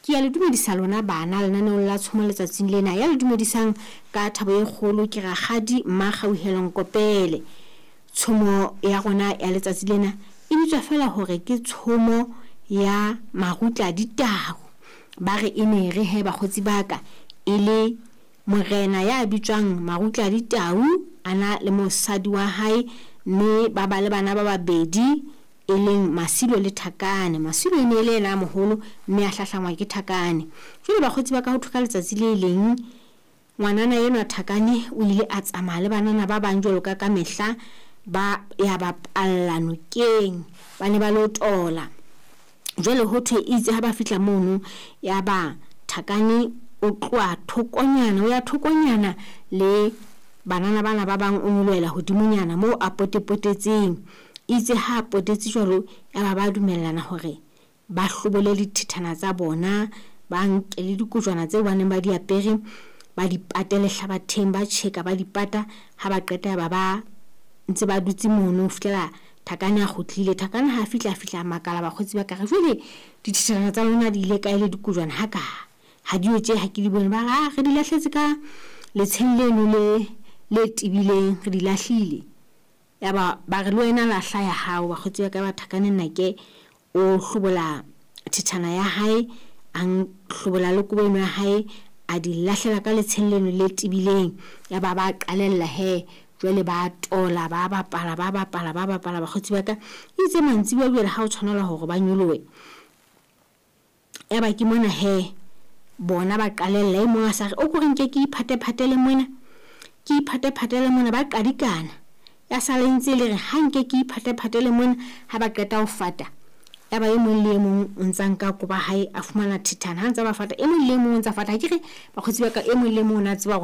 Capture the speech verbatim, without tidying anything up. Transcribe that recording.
Ke ya le dumedisa lona bana lenaneong la tshomo letsatsing lena. Ya le dumedisang ka thabo e kgolo ke rakgadi Mmakgauhelo Nkopele. Tshomo ya rona ya letsatsi lena e bitswa fela hore ke tshomo ya Marutla Ditau. Ba re e ne re he bakgotsi ba ka e le morena ya bitswang Marutla Ditau a na le mosadi wa hae, mme ba ba le bana ba babedi e leng Masilo le Thakane. Masilo e ne e le yena a moholo mme a hlahlangwa ke Thakane. Jwale bakgotsi ba ka, ho thwe ka letsatsi le leng ngwanana enwa Thakane o ile a tsamaya le banana ba bang jwalo ka ka mehla, ba ya bapalla nokeng, ba ne ba lo tola. Jwale ho thwe itse ha ba fihla mono, ya ba Thakane o tloha thokonyana, o ya thokonyana le banana bana ba bang, o nyolohela hodimonyana moo a potepotetseng. Itse ha a potetse jwalo, ya ba ba dumellana hore ba hlobole dithethana tsa bona, ba nke le dikojwana tseo ba neng ba di apere, ba di pate lehlabatheng, ba tjheka ba di pata. Ha ba qeta ya ba ba ntse ba dutse mono ho fihlela Thakane a kgutlile. Thakane ha fihla, a fihla a makala bakgotsi ba ka re, jwale dithethana tsa lona di ile kae le dikojwana ha ka ha di yo tje ha ke di bone. Ba re, ah, re di lahletse ka letsheng leno le le tebileng, re di lahlile. Ya ba ba re le wena lahla ya hao. Bakgotsi ba ka, ba Thakane nnake o hlobola thethana ya hae, a hlobola le kobo eno ya hae, a di lahlela ka letsheng leno le tebileng. Ya ba ba qalella he, jwale ba tola, ba bapala, ba bapala, ba bapala bakgotsi ba ka. Itse mantsibuya jwale ha o tshwanela hore ba nyolohe, ya ba ke mona he bona ba qalella. E mong a sa re, o ko re nke ke iphatephatele mona, ke iphatephatele mona, ba qadikana. Ya sala e ntse le re ha nke ke iphatephatele mona. Ha ba qeta ho fata, ya ba e mong le e mong o ntsa nka kobo ya hae, a fumana thethana. Ha ntsa ba fata, e mong le e mong o ntsa fata. Ha ke re bakgotsi ba ka, e mong le e mong o na tseba hore